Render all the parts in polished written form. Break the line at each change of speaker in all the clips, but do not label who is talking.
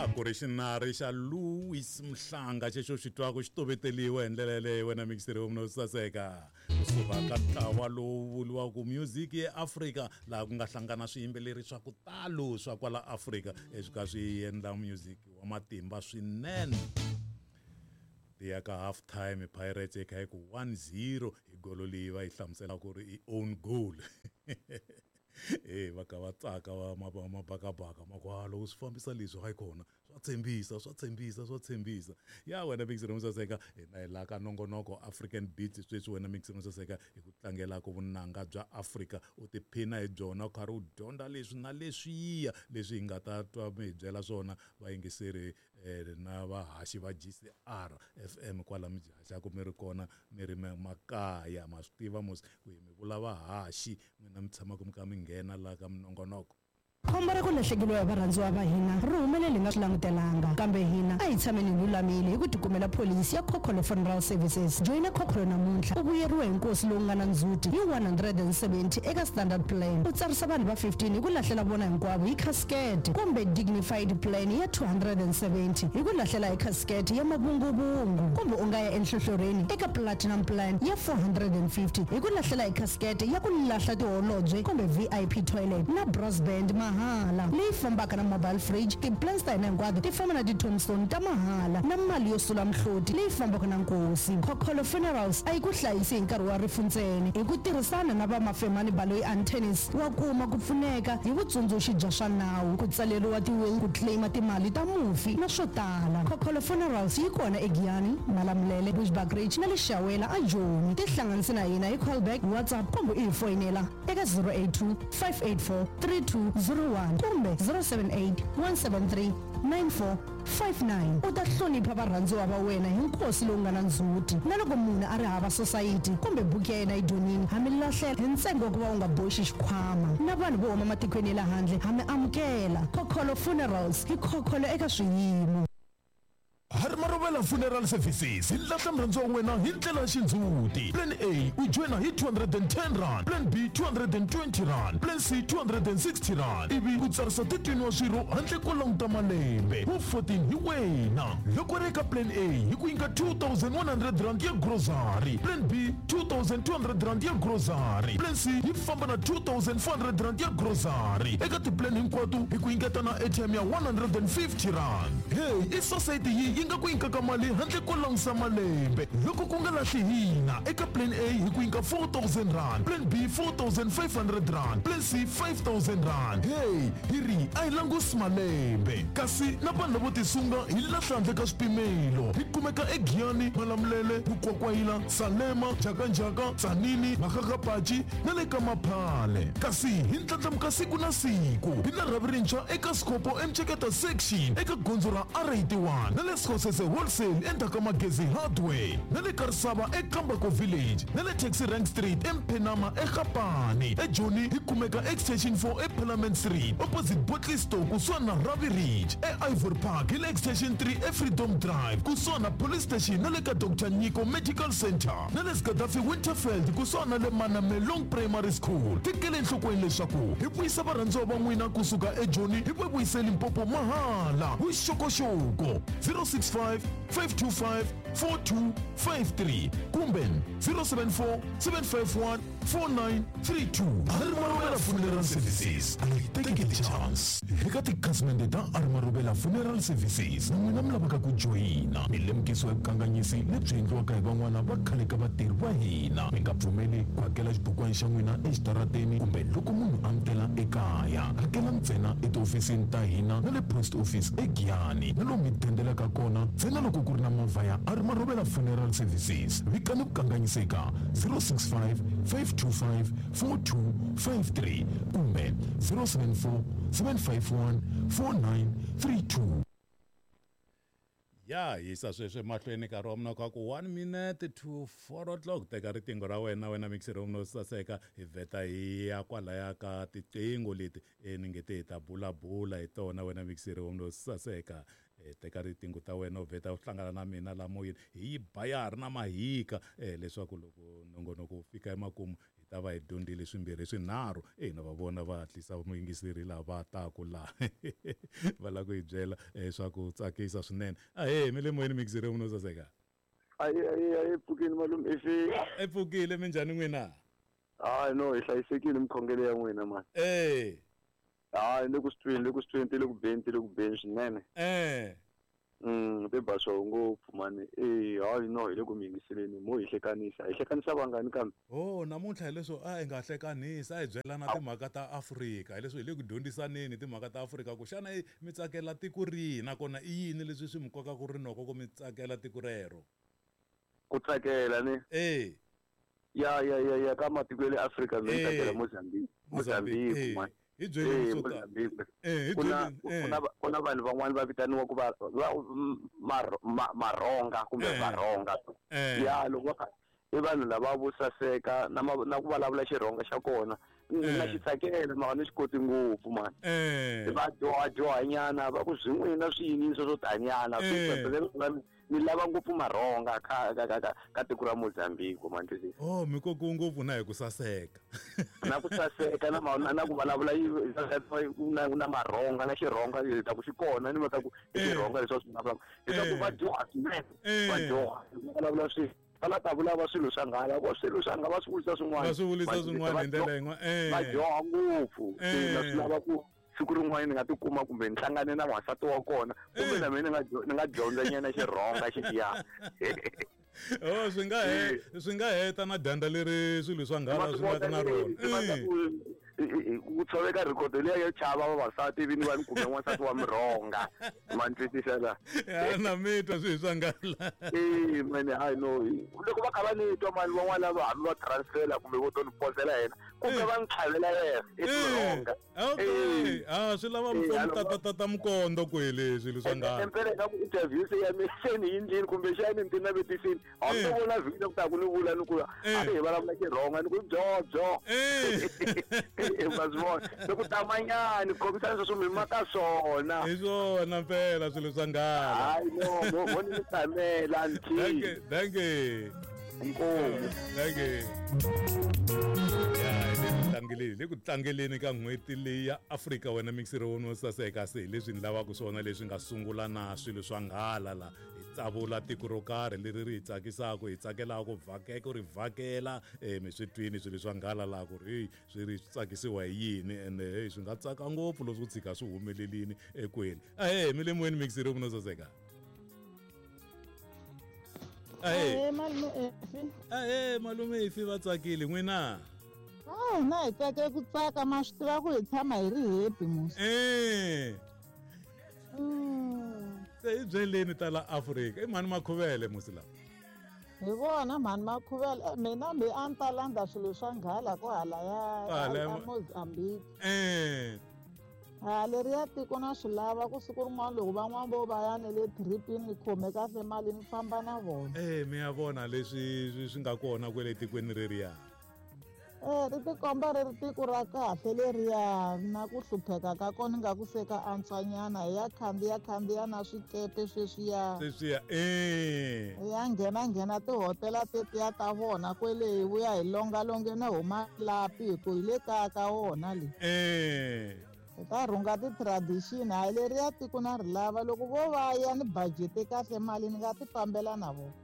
A ku ri xinari xa Louis Mhlanga xexo xi twaka xi toveteliwa hi ndlela yeleyo wena mixeri wa mina saseka kusuka ka ntlawa lowu vuriwaka Music ye Africa laha ku nga hlangana swiyimbeleri swa ku talo swa kwala Afrika leswi ka swi endla music wa matimba swinene. Ti ya ka half time Pirates yi kha yi ku 1-0 hi golo leyi va yi hlamusela ku ri i own goal. E va ka va tsaka va mabakabaka ma ku loko swi fambisa leswi hayi kona swa tshembisa swa tshembisa swa tshembisa. Ya wena Mixi Romo Saseka hina hi laha ka nongonoko African Beats sweswi wena Mixi Romo Saseka hi ku tlangelaka vunanga bya Afrika u tiphina hi byona u karhi u dyondza leswi na leswiya leswi hi nga ta twa mi hi byela swona vayingiseri na vahaxi va GCR FM kwala mi haxaka mi ri kona mi ri makaya ma swi tiva mos ku hi mi vula vahaxi n'wina mi tshamaka mi kha mi nghena laha ka minongonoko.
Khombo ra ku lahlekeriwa hi varhandziwa va hina ri humelele hi nga swi langutelanga. Kambe hina a hi tshameni hi lulamile hi ku tikumela pholisi ya Khokholo Funeral Services. Joyina Khokholo namuntlha u vuyeriwe hi nkosi lowu nga na ndzhuti hi 170 eka Standard Plan, u tsarisa vanhu va 15 hi ku lahlela vona hinkwavo hi khasikete, kumbe Dignified Plan ya 270 hi ku lahlela hi khasikete ya mavunguvungu, kumbe u nga ya enhlohlorhini eka Platinum Plan ya 450 hi ku lahlela hi khasikete ya ku lahla tiholobye kumbe VIP toilet na brass band mahala leyi fambaka na mobile fridge. Ti-plans ta hina hinkwato ti famba na ti-tombstone ta mahala na mali yo sula mihloti leyi fambaka na nkosi. Khokholo Funerals a yi ku hlayisi hi nkarhi wa rifu ntsena. Hi ku tirhisana na va Mafemani Baloyi Attorneys wa kuma ku pfuneka hi vutsundzuxi bya swa nawu, ku tsaleriwa ti-will, ku claim timali ta mufi na swo tala. Khokholo Funerals yi kona eGiyani, Malamulele, Bushbuckridge na le Shawela aJoni. Tihlanganisi na hina hi callback, WhatsApp kumbe u hi foyinela eka 082 584 3201 kumbe 078 173 9459. U ta hlonipha varhandziwa va wena hi nkosi lowu nga na ndzhuti. Na loko munhu a ri hava sosayiti kumbe buku ya yena yi dyonile, ha mi lahlela hi ntsengo wa ku va u nga boxi xikhwama. Na vanhu vo huma matikweni ya le handle ha mi amukela. Khokholo Funerals, hi khokholo eka swiyimo.
Harimarovela Funeral Services hi lahla murhandziwa wa wena hi ndlela ya xindzhuti. Plan A u joyina hi R210, Plan B R220, Plan C R260 ivi u tsarisa 13 wa swirho handle ko languta malembe. Wu 14 hi wena. Loko u ri eka Plan A hi ku nyika R2100 ya grocery, Plan B R2200 ya grocery, Plan C yi famba na R2400 ya grocery. Eka ti-plan hinkwato hi ku nyiketa na airtime ya R150. Hey, i sosayiti yi yi nga ku nyikaka mali handle ko langusa malembe. Loko ku nga lahli hina, eka Plan A hi ku nyika R4000, Plan B R4500, Plan C R5000. Hey, hi ri a hi langusi malembe. Kasi na vanhu lavo tisunga hi lahla handle ka swipimelo. Hi kumeka eGiyani, Malamulele, Mukwakwayila, Salema, Njhakanjhaka, Tzaneen, Makgakgapachi na le ka Maphale. Kasi hi ndlandlamuka siku na siku. Hi na rhavi rintshwa eka Skhopho eMceketa Section eka gondzo ra R81 na le Skhosese Wholesale endzhaku ka Magezi Hardware na le Karisava eKambako Village na le Taxi Rank Street eMphenama eGapane. EJoni hi kumeka Extension 4 eParliament Street opposite Bottle Store kusuhani na Ravi Ridge. E-Ivory Park hi le Extension 3 eFreedom Drive kusuhani na Police Station na le ka Doctor Nyiko Medical Centre na le Gaddafi Winterveld kusuhani na le Manamelong Primary School. Tekela enhlokweni leswaku hi vuyisa varhandziwa va n'wina kusuka eJoni hi va vuyise Limpopo mahala. Vuxokoxoko 065 525 4253 kumbe 074 751 4932. Arimarovela Funeral Services a yi tekeli chance. Eka tikhasimende ta Arimarovela Funeral Services na n'wina mi lavaka ku joyina, mi lemukisiwa hi vukanganyisi lebyi endliwaka hi van'wana va khale ka vatirhi va hina. Mi nga pfumeli ku hakela xibukwana xa n'wina exitarateni kumbe loko munhu a mi tela ekaya. Hakela ntsena etihofisini ta hina na le post office eGiyani na lomu mi dendelaka kona ntsena loko ku ri na movha ya Arimarovela Funeral Services. Vikani vukanganyisi eka 065 525 4253 kumbe 074 751 4932.
Ya hisa sweswi emahlweni nkarhi wa mina ka ku 1 minute to 4 o'clock. Teka riqingho ra wena wena mixer wa mina wo saseka hi vheta hi ya kwalaya ka tiqingho leti ni nge te hi ta bulabula hi tona wena mixer wa mina wo saseka. Teka riqingho ta wena u vheta u hlangana na mina la moyeni hi yi ba ya ha ri na mahika leswaku loko nongonoko wu fika emakumu hi ta va hi dyondzile swimbirhi swinharhu. Ina va vona va hatlisa muyingiseri lava taku laha va lava ku hi byela swa ku tsakisa swinene. Ahee, mi le moyeni muyingiseri munhu wo saseka.
Ayi ayi ayi, pfukini malume ifi.
E pfukile, minjhani n'wina?
Hayi no, hi hlayisekile mikhongelo ya n'wina mani. Hayi le ku swi tweni, le ku swi tweni, ti le ku beni, ti le ku beni swinene. Ti ba swo ngopfu mani. Hayi no, hi le ku mi yingiseleni, mo hi hlekanisa. Hi hlekanisa vangani kambe?
Oh, namuntlha hileswo a hi nga hlekanisi, a hi byelana timhaka ta Afrika. Hileswo hi le ku dyondzisaneni timhaka ta Afrika ku xana mi tsakela tiko rihi nakona i yini leswi swi mi kokaka rinoko ku mi tsakela tiko rero?
Ku tsakela ni? Ya ya ya ya, ka matiko ya le Afrika mi tsakela Mozambique. Mozambique mani.
Hi byeleni swo tala.
Mozambique.
Hi
Ku na
byeleni,
ku na ku na vanhu van'wani va vitaniwa ku va va Maronga kumbe Varonga. Ya loko va kha i vanhu lava vo saseka na na ku vulavula Xirhonga xa kona. Na xi tsakela mara ni xi koti ngopfu mani. Va dyoha dyohanyana va ku swin'wina swi yini swo tanyana. Ni lava ngopfu Maronga ka ka ka ka tiko ra Mozambique ma twisisa.
Oh, mi kokiwe ngopfu na hi ku saseka.
Na ku saseka na na ku vulavula na na Maronga na Xirhonga ta ku xi kona ni ta ku i Xirhonga leswi va swi vulavulaka. Leswaku va dyoha swinene. Va dyoha vulavula swi va la ta vulava swilo swa nghala vo swilo swa nghala va swi vulisa swin'wana.
Va swi vulisa swin'wana hi ndlela yin'wana.
Va dyoha ngopfu. Na swi lava ku siku rin'wana ni nga tikuma kumbe ni hlangane na n'wansati wa kona kumbe na mina ni nga dyondza nyana Xirhonga xiya.
Oh, swi nga swi nga heta na dyandza leri swilo swa nghala swi nga na rona.
Ku tshoveka record liya yo chava vavasati ivi ni va ni kume n'wansati wa Murhonga. Ma ni twisisa la?
Ya na mi twa swilo swa nghala.
Mani hayi no, loko va kha va ni twa mani van'wana lava hambi va transfela kumbe vo to ni posela yena kumbe va ni tlhavela yena i Murhonga.
Okay. Swi lava ta mukondo kwele swilo swa nghala.
Empela ka ku interview se ya mina se ni yindlini kumbe xana ni ti navetisini. A ni vona video ku ta ku ni vula ni ku a hi vulavula Xirhonga ni ku byo byo. Va swi vona. Loko tamanyani khomisana sweswo mi maka swona.
Hi swona mpela swilo swa nghala.
Hayi no, mo ni tamela nthi.
Thank you.
Inkomu.
Thank you. Le ku tlangeleni ka n'hweti leyi ya Afrika wena mixer wo saseka se leswi ni lavaka swona leswi nga sungula na swilo swa nghala la hi tsavula tiko ro karhi leri ri hi tsakisaka hi tsakelaka ku vhakeka ri vhakela mi swi twini swilo swa nghala la ku ri swi ri tsakisiwa hi yini ende hey swi nga tsaka ngopfu loko swo tshika swi humelelini ekwini. Ahee, mi le moyeni mixer wo saseka. Ahee
malume Efi.
Ahee malume Efi, va tsakile n'wina?
Na hi tsake ku tsaka ma swi tiva ku hi tshama hi ri happy musi.
Se hi byeleni ta la Afrika, i mhani Makhuvele musi lawa?
Hi vona mhani Makhuvele, mina mbe a ni ta landza swilo swa nghala ko hala ya Mozambique. Leriya tiko na swi lava ku siku rin'wana loko van'wana vo va ya ne le tripini ni khome kahle mali ni famba na vona.
Mi ya vona leswi swi nga kona kwele tikweni reriya.
Ri tikomba ri ri tiko ra kahle leriya na ku hlupheka ka kona nga ku se ka antswanyana hi ya khandziya na swikepe sweswiya.
Sweswiya
Ya nghena tihotela tetiya ta vona kwele hi vuya hi longalonge na huma lapi hi ku hi le kaya ka wona le. Hi ta rhunga ti-tradition hayi leriya tiko na ri lava loko vo va ya ni budget kahle mali ni nga ti fambela na vona.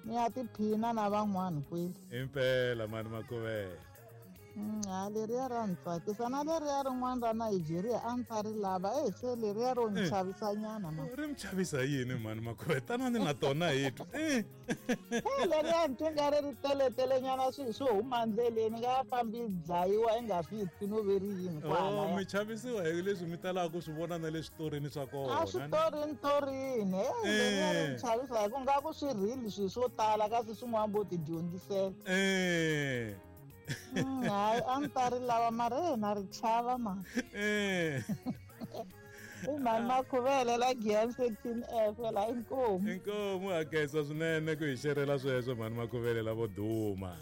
Ni ya tiphina na van'wana kwele.
Impela mani Makhuvele.
Ha leriya ra ni tsakisa na leriya rin'wana ra Nigeria a ni ta ri lava se leriya ro ni chavisanyana ma.
Ri mi chavisa yini mani Makhuvele? Tanani na tona hi twa.
Leriya ni twa nga ri ri teletelenyana swilo swo huma ndleleni nga fambi dlayiwa i nga swi twi no ve ri yini kwala.
Mi chavisiwa hi leswi mi talaka ku swi vona na le switorini swa kona.
A switorini torini. Leriya ri ni chavisa hi ku nga ku swi real swilo swo tala kasi swin'wana vo ti dyondzisela. Hayi a ni ta ri lava mara na ri chava mani. I mhani Makhuvele la Giyani section F la inkomu.
Inkomu hakesa swinene ku hi xerela sweswo mhani Makhuvele lavo duma.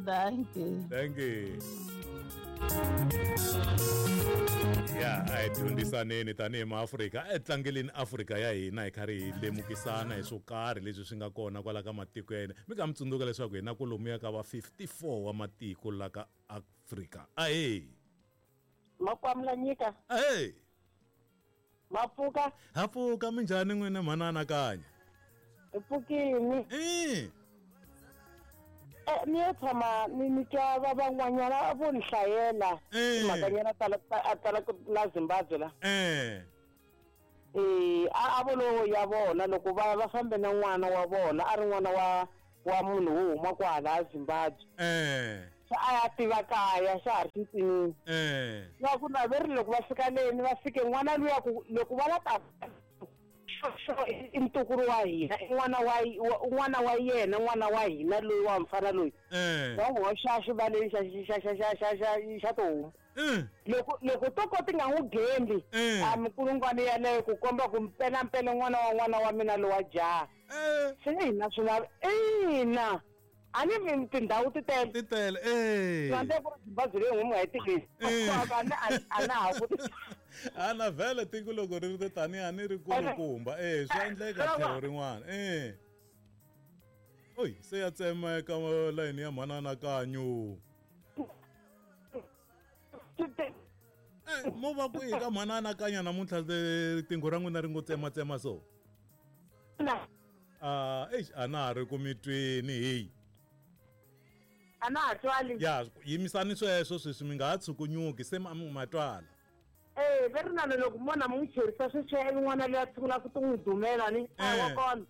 Thank you.
Thank you. Ya a hi dyondzisaneni tanihi maafrika, a hi tlangeleni Afrika ya hina hi karhi hi lemukisana hi swo karhi leswi swi nga kona kwala ka matiko ya hina. Mi nga mi tsundzuka leswaku hina kwalomuya ka va 54 wa matiko la ka Afrika. Ahee.
Makwamula nyika.
Ahee.
Mapfuka.
Ha pfuka, minjhani n'wina mhana Anakanya?
Hi pfukini. Ni yo tshama ni twa va van'wanyana vo ni hlayela timhakanyana ta la Zimbabwe la. A vo lowo ya vona loko va fambe na n'wana wa vona, a ri n'wana wa munhu wo huma kwala a Zimbabwe. Xa a ya tiva kaya xa ha ri xintsinini. Na ku naverile loko va fika leni va fike n'wana luya ku loko va la ta xo i ntukulu wa hina, i n'wana wa n'wana wa yena, n'wana wa hina loyi wa mfana loyi. Va n'wi hoxa xivaleni xa tihomu. Loko to ko ti nga n'wi gembi, a mikulungwana yaleyo ku komba ku mpela mpela n'wana wa n'wana wa mina lowa jaha. Swi nge hina swi lava ina. A ni tindhawu ti tele.
Ti tele, eh.
Rwanda ku ri Zimbabwe leyi n'wi nga yi tivisi. A na ha ku.
A na vhele tiko loko ri ri tani a ni ri kulukumba. Swa endleka tlhelo rin'wana. Oy, se ya tsemeka layini ya mhana Anakanyo. Mo va kwihi ka mhana Anakanya namuntlha riqingho ra n'wina ri ngo tsematsema so? Eish, a na ha ri ku mi tweni heyi.
A na ha twali.
Ya, yimisani sweswo sweswi mi nga ha tshukunyuki se ma twala.
Ve ri nana loko mona mi n'wi cherisa sweswiya ivi n'wana loyi a sungula ku n'wi dumela ni a wa kona.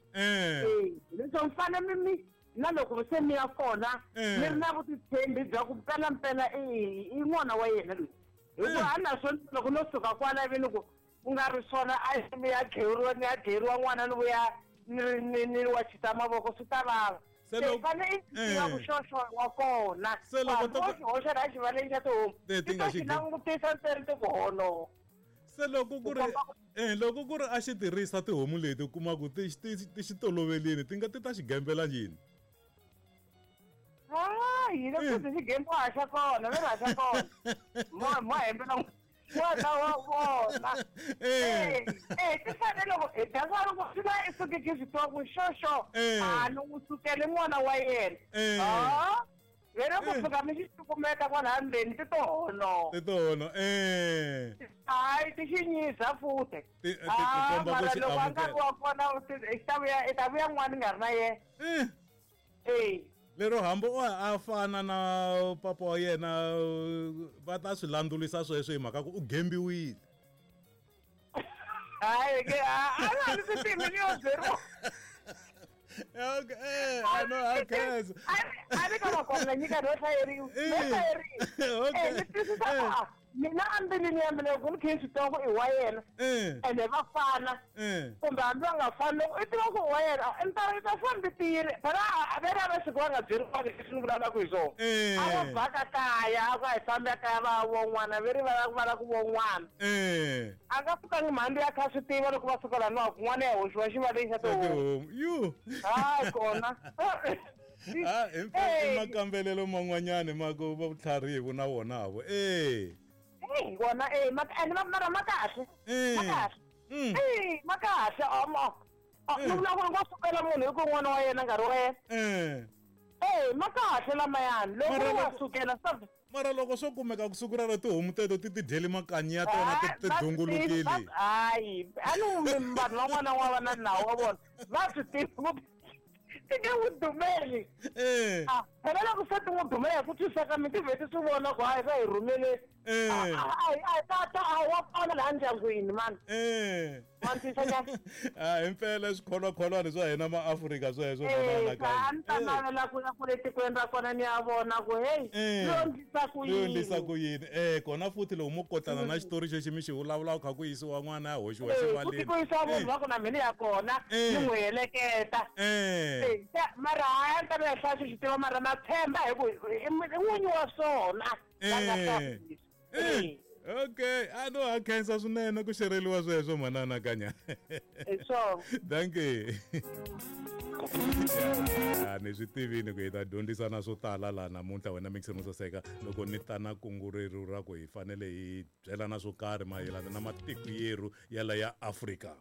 Leswo mi fanele mi na loko se mi ya kona mi ri na vutitshembi bya ku mpela mpela i n'wana wa yena loyi. Hikuva a na swona loko no suka kwala ivi ni ku ku nga ri swona a mi ya dleriwa ni ya dleriwa n'wana ni vuya ni wa chita mavoko swi ta vava. Se fanele i tiva ku xoxo wa kona.
Se loko
to hoxa la xivaleni xa tihomu.
Ti nga xi
langutisa ntsena ti ku hono.
Se loko ku ri loko ku ri a xi tirhisa tihomu leti u kuma ku ti xi tolovelini ti nga ti ta xi gembela yini?
Hayi, loko ti xi gembiwa xa kona, ve ra xa kona. Mo hembela n'wana wa vona. Ti fanele loko hi dya loko swi la i suke ki swi tiva ku xoxo a ni n'wi sukele n'wana wa yena. Vele ku fika mi xi cukumeta kwalaya ndzeni ti to hono.
Ti to hono.
Hayi ti xi nyiza futhi.
Ti komba ku
Mara
xi
loko a nkarhi
amukela.
wa kona i ta vuya n'wana nga ri na yena.
Lero hambi o a fana na papa wa yena va ta swi landzulisa sweswo hi mhaka ku u gembiwile.
Hayi ke a ni swi tivi ni yo byeriwa.
Okay, I know I can.
A ni ka makwamula nyika no hlayeriwa. No hlayeriwa. Ni twisisa ku mina ambilwini ya mina loko ni kha ni swi tiva ku i wa yena. Ene va fana. Kumbe hambi va nga fani loko i tiva ku i wa yena, i ta fambi tiyile. Phela a ve ra va siku va nga byeriwangi leswi ni vulavulaka hi swona. A va baka kaya, a ku a hi fambi kaya va vo n'wana, ve ri va la ku vo n'wana. A nga pfukangi mhani ya kha swi tiva loko va suka laniwa ku n'wana ya hoxiwa xivaleni xa tihomu.
Yu.
Hayi kona.
I makambelelo man'wanyani ma ku va vutlharihi na wona vo.
Wona mara ma kahle. Ma kahle. Ma kahle ni vula ku ri nga sukela munhu hi ku n'wana wa yena nkarhi wa yena. Ma kahle lamayani loko wa sukela
mara loko swo kumeka ku siku rero tihomu teto ti ti dyeli makanyi ya tona ti dungulukile.
Hayi a ni vanhu van'wana wa va na nawu wa vona va swi tiva ti nge n'wi dumeli. Phela loko se ti n'wi dumela hi ku twisisa ka mi ti vheti swi vona ku hayi va hi rhumele. Tata a wa kona laha ndyangwini mani. Wa ntwisa njhani?
Himpela swikholwakholwani swa hina maAfrika sweswo.
A ni ta navela ku ya kule tikweni ra kona ni ya vona ku hey yo ndlisa ku yini.
Yo ndlisa ku yini. Kona futhi loko mo kotana na xitori xexi mi xi vulavulaka kha ku yisiwa n'wana ya hoxiwa xivaleni.
Ku yisiwa munhu wa ku na mina ya kona ni n'wi heleketa. Mara hayi a ni ta va hlaya xi tiva mara na tshemba hi ku i n'winyi wa swona.
Okay, a no a khensa swinene ku xereliwa sweswo mhana Anakanya.
So.
Thank you. Ya ni swi tivini ku hi ta dyondzisana swo tala laha namuntlha wena mixer mo saseka loko ni ta na kungu reru ra ku hi fanele hi byelana swo karhi mayelana na matiko yerhu ya la ya Afrika.